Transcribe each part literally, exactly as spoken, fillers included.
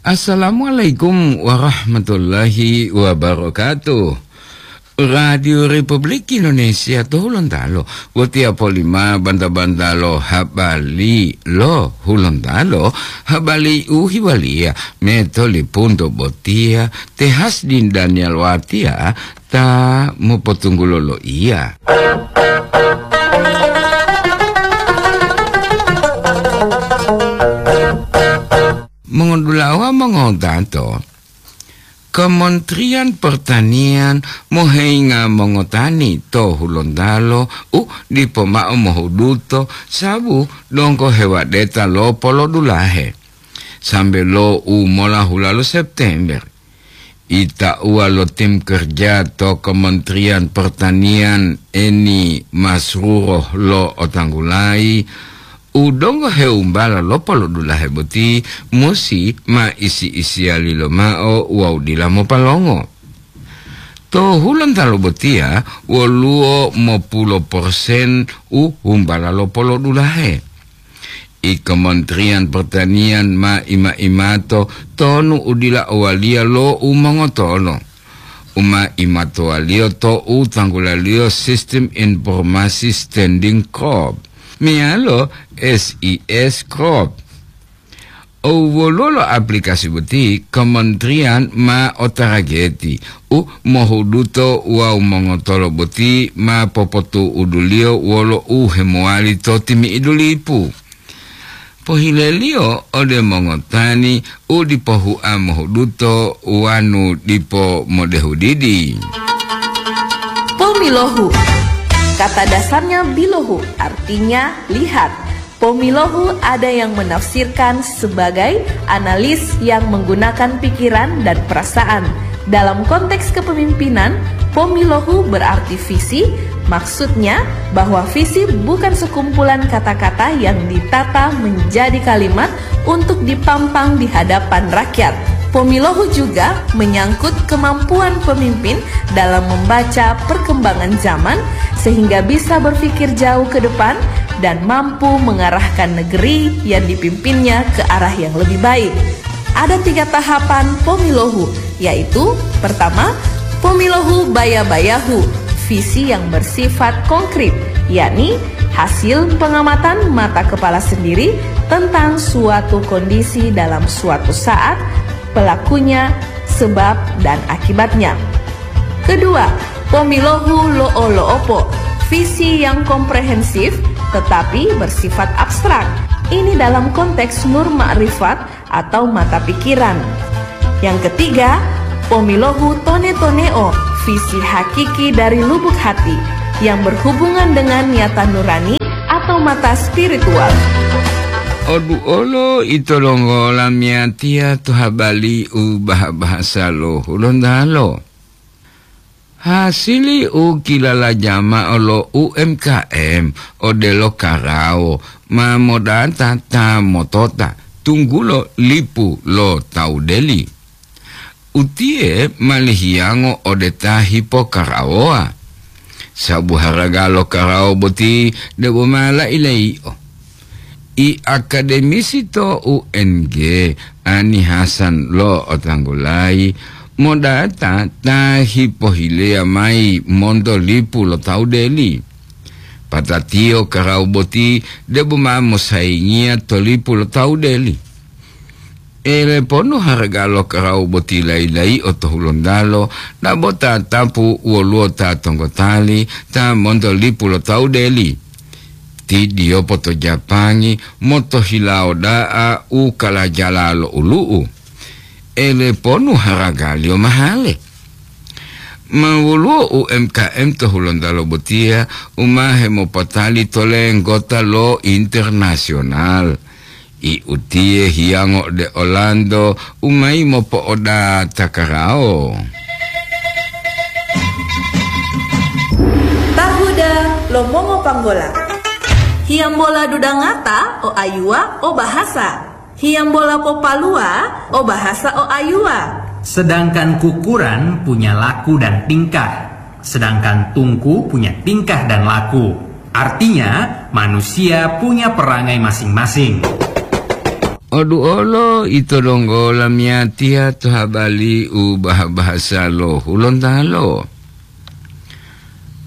Assalamualaikum warahmatullahi wabarakatuh. Radio Republik Indonesia to Hulontalo, wotiya polima banta-banta lo habari lo Hulontalo, habari u hiwaliya metolipunto botiya, te Hasdin Daniel Watia ta mopotunggulo lo iya. Mongodulawa mongodato, Kementerian Pertanian moheinga mongotani to Hulontalo u dipo ma'o mohuduto sabu donggo hewadeta lo polodulahe. Sambe lo u mola hulalo September, itauwa lo tim kerja to Kementerian Pertanian Eni Masruro lo otanggulayi, u donggo heumbala lo polodulahe boti musi ma isi-isiyali lomao wawu dila mopalongo. To Hulontalo botiya woluwo mopulo persen u humbala lo polodulahe. I Kementerian Pertanian ma ima-imato tonu u dila owaliya lo u mongotolo. U ma imatowaliyo to u tanggulaliyo Sistem Informasi Standing Crop, meyalo S I S Crop. Owwoluwo lo aplikasi boti, kementerian ma otarageti u mohuduto wawu mongotolo boti ma popotu'uduliyo wolo u hemowali to timi'idu lipu. Pohileliyo ode mongotani u dipo hua mohuduto wanu dipo modehudidi. Pomilohu. Kata dasarnya bilohu, artinya lihat. Pomilohu ada yang menafsirkan sebagai analis yang menggunakan pikiran dan perasaan. Dalam konteks kepemimpinan, pomilohu berarti visi, maksudnya bahwa visi bukan sekumpulan kata-kata yang ditata menjadi kalimat untuk dipampang di hadapan rakyat. Pomilohu juga menyangkut kemampuan pemimpin dalam membaca perkembangan zaman sehingga bisa berpikir jauh ke depan dan mampu mengarahkan negeri yang dipimpinnya ke arah yang lebih baik. Ada tiga tahapan pomilohu, yaitu pertama, pomilohu baya-bayahu, visi yang bersifat konkret, yakni hasil pengamatan mata kepala sendiri tentang suatu kondisi dalam suatu saat, pelakunya, sebab, dan akibatnya. Kedua, pomilohu lo'o-lo'opo, visi yang komprehensif tetapi bersifat abstrak. Ini dalam konteks nur makrifat atau mata pikiran. Yang ketiga, pomilohu tone-toneo, visi hakiki dari lubuk hati yang berhubungan dengan nyata nurani atau mata spiritual. Oduolo ito longgola miyatiya to habari u baha-bahasa lo Hulontalo. Hasili u kilalaja mao lo U M K M odelo karawo ma modata ta motota tunggulo lipu lo tawu deli. Utiye ma lihiyango ode ta hipokarawowa, sabu haraga lo karawo boti debo ma lai-laio. I akademisi to U N G, Ani Hasan lo otanggulayi, modata ta hipohileya mayi monto lipu lo tawu deli. Patatiyo karawu boti debo ma mosayingiya to lipu lo tawu deli. Eleponu haraga lo karawu boti layi-layi'o to Hulontalo, dabo tatapu woluwo ta tonggotali ta monto lipu lo tawu deli. Ti diyopo to Japangi motohilawo da'a u kalajala lo ulu'u. Eleponu haragaliyo mahale. Ma woluwo U M K M to Hulontalo botiya u ma hemopotali to lenggota lo internasional. I utiye hiyango ode olanto u mayi mopo'odata karawo. Tahuda lo mongopanggola. Hiyambola dudangata o ayuwa o bahasa. Hiyambola popalua o bahasa o ayuwa. Sedangkan kukuran punya laku dan tingkah, sedangkan tungku punya tingkah dan laku. Artinya, manusia punya perangai masing-masing. Oduolo ito donggo lamiyatiya to habali u baha-bahasa lo Hulontalo.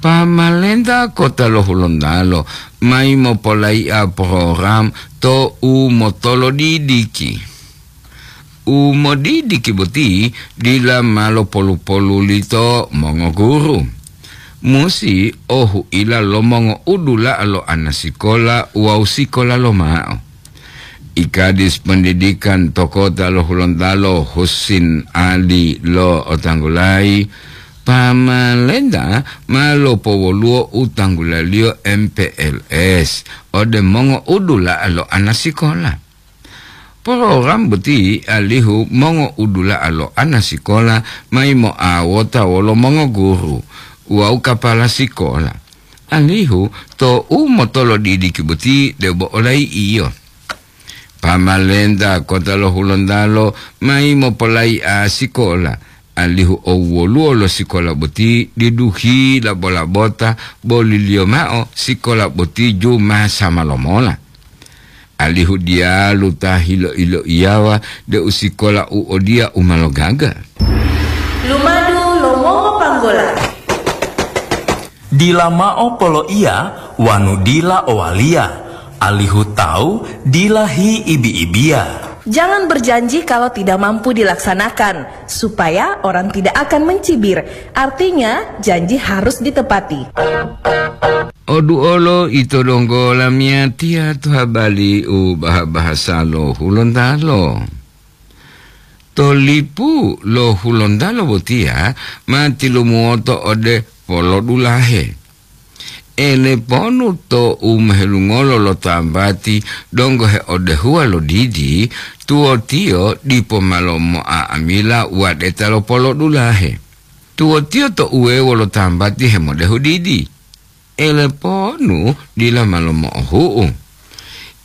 Pamalenta kota lo Hulontalo mayi mopolai'a program to u motolodidiki. U modidiki boti dila ma lopolu-poluli to mongoguru. Musi ohu'ila lo mongo'udula'a lo anasikola wawu sikola lomao. Ikadis Pendidikan to kota lo Hulontalo Husin Ali lo otanggulayi, pamalenta ma lopowoluwo u tanggulaliyo M P L S ode mongo'udula'a lo anasikola. Program boti alihu mongo'udula'a lo anasikola mayi mo'awota wolo mongoguru wawu kapala sikola. Alihu to u motolodidiki boti debo olayi'iyo. Pamalenta kota lo Hulontalo mayi mopolai'a sikola, alihu owoluwo lo sikola boti diduhi labo-labota, boliliyo mao sikola boti juma sama lomola. Alihu diyalu ta hilo-iloiyawa deu sikola u odiya u ma logaga. Lumadu lo mongopanggola. Dila mao poloiya wanu dila owaliya, alihu tawu dila hiibi-ibiya. Jangan berjanji kalau tidak mampu dilaksanakan, supaya orang tidak akan mencibir. Artinya, janji harus ditepati. Oduolo ito donggo lamiyatiya to habali u baha-bahasa lo Hulontalo. To lipu lo Hulontalo botiya ma tilumuwoto ode polodulahe. Eleponu to u mohelungolo lo tambati donggo heodehuwa lo didi, tuwotiyo dipo ma lomo'a'amila wadeta lo polodulahe. Tuwotiyo to uwewo lo tambati hemodehu didi. Eleponu dila ma lomo'ohu'u.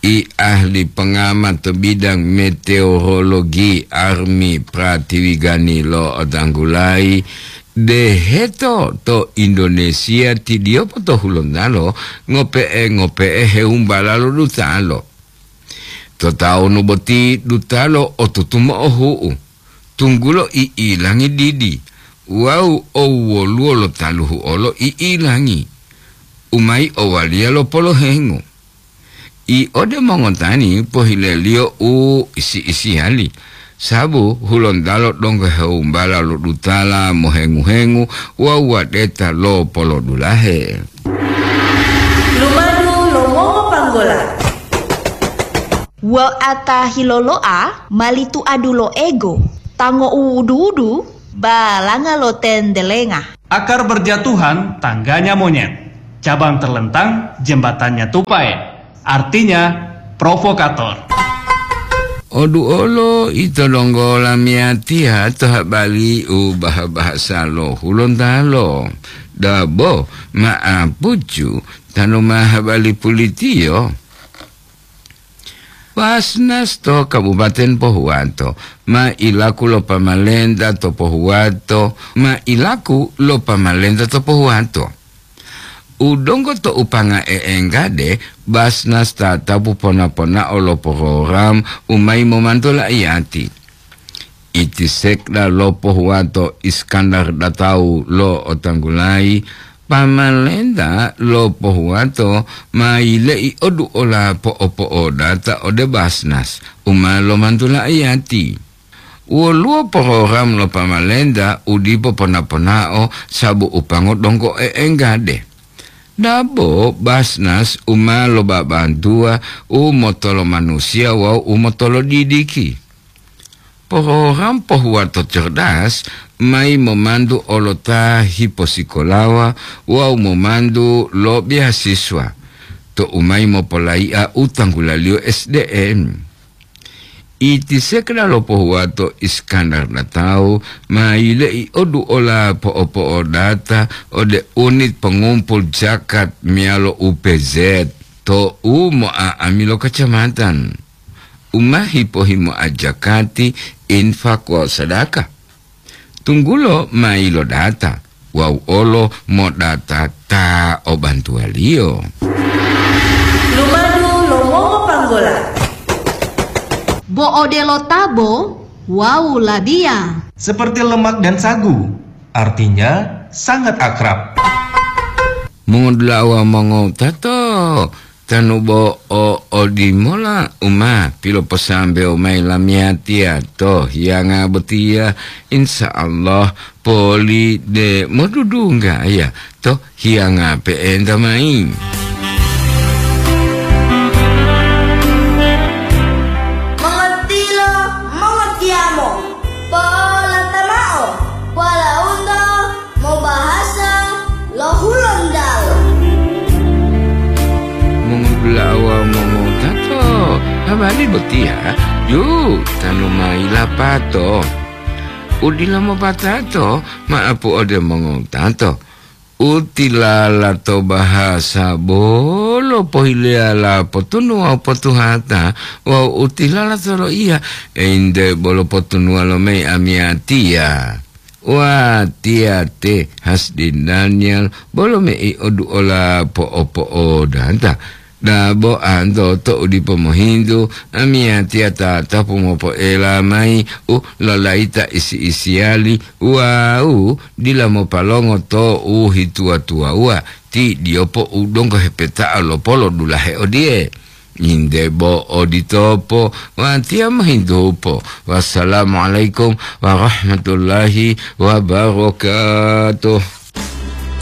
I ahli pengamat to bidang meteorologi Armi Pratiwigani lo otanggulayi, deheto to Indonesia tidiyopo to Hulontalo ngope'e-ngope'e heumbala lo dutalo. To tawunu boti dutalo otutu mo'ohu'u, tunggulo i'ilangi didi wawu owoluwo lo taluhu olo i'ilangi, u mayi owaliya lo polohengu. I ode mongotani pohileliyo u isi-isiyali, sabu Hulontalo donggo heumbala lo dutala mohengu-hengu wawu wadeta lo polodulahe. Lumadu lo mongopanggola. Wa'ata hilolo'a mali tuadu lo ego, tango uwudu-wudu, balanga lo tendelenga. Akar berjatuhan, tangganya monyet. Cabang terlentang, jembatannya tupai. Artinya, provokator. Oduolo ito donggo lamiyatiya to habali u baha-bahasa lo Hulontalo. Dabo ma'apucu tanu ma habali pulitiyo. Basnas to Kabupaten Pohuwato ma ilaku lo pamalenta to Pohuwato, ma ilaku lo pamalenta to Pohuwato. U donggo to upanga e'enggade, Basnas tatapu pona-ponao lo program u mayi momantu la'iyati. Iti sekda lo Pohuwato Iskandar Datau lo otanggulayi, pamalenta lo Pohuwato ma yile'i oduola po'opo'odata ode Basnas u ma lomantu la'iyati. Woluwo program lo pamalenta u dipo pona-ponao sabu u pango donggo e'enggade. Dabo Basnas u ma lobabantuwa u motolomanusiya wawu u motolodidiki. Program Pohuwato Cerdas mayi momantu olota hiposikolawa wawu momantu lo beasiswa to u mayi mopolai'a u tanggulaliyo S D M. Iti sekda lo Pohuwato Iskandar Datau ma yile'i oduola po'opo'odata ode unit pongumpul jakat meyalo U P Z to u mo'a'ami lo kacamatan. U ma hipo-himoa jakati, infak wawu sadaka. Tunggulo ma yilodata wawu olo modata ta o bantuwaliyo. Lumadu lo mongopanggola. Bo odelo tabo wawu labiya. Seperti lemak dan sagu, artinya sangat akrab. Mongodula'a wawu mongowutato, tanu bo o odimola u ma piloposambewo mayi lamiyatiya to hiyanga botiya, insya Allah poli de modudungga ya to hiyanga pe'enta mayi. Mongotilo, mongotiyamo, polata mao, walaundo mobahasa lo Hulontalo. Mongudula'a wawu mongotato, habari botiya yu tanu mayi lapato. Udila mopatato, ma'apu ode mongotato. Utilala to bahasa bolo pohileyala potunu wawu potuhata, wawu utilala to loiya, einte bolo potunuwa lo mayi amiyatiya. Watiya te Hasdi Daniel bolo mei oduola po'opo'odata. Dabo anto to u dipo mohintu, amiyatiya tatapu mopoela mayi u lolayita isi-isiyali wawu dila mopalongo to u hituwa-tuwawuwa ti diyopo u donggo hepeta'a lo polo dulahe odiye. Inde bo oditopo, watiya mohintupo. Wassalamualaikum warahmatullahi wabarakatuh.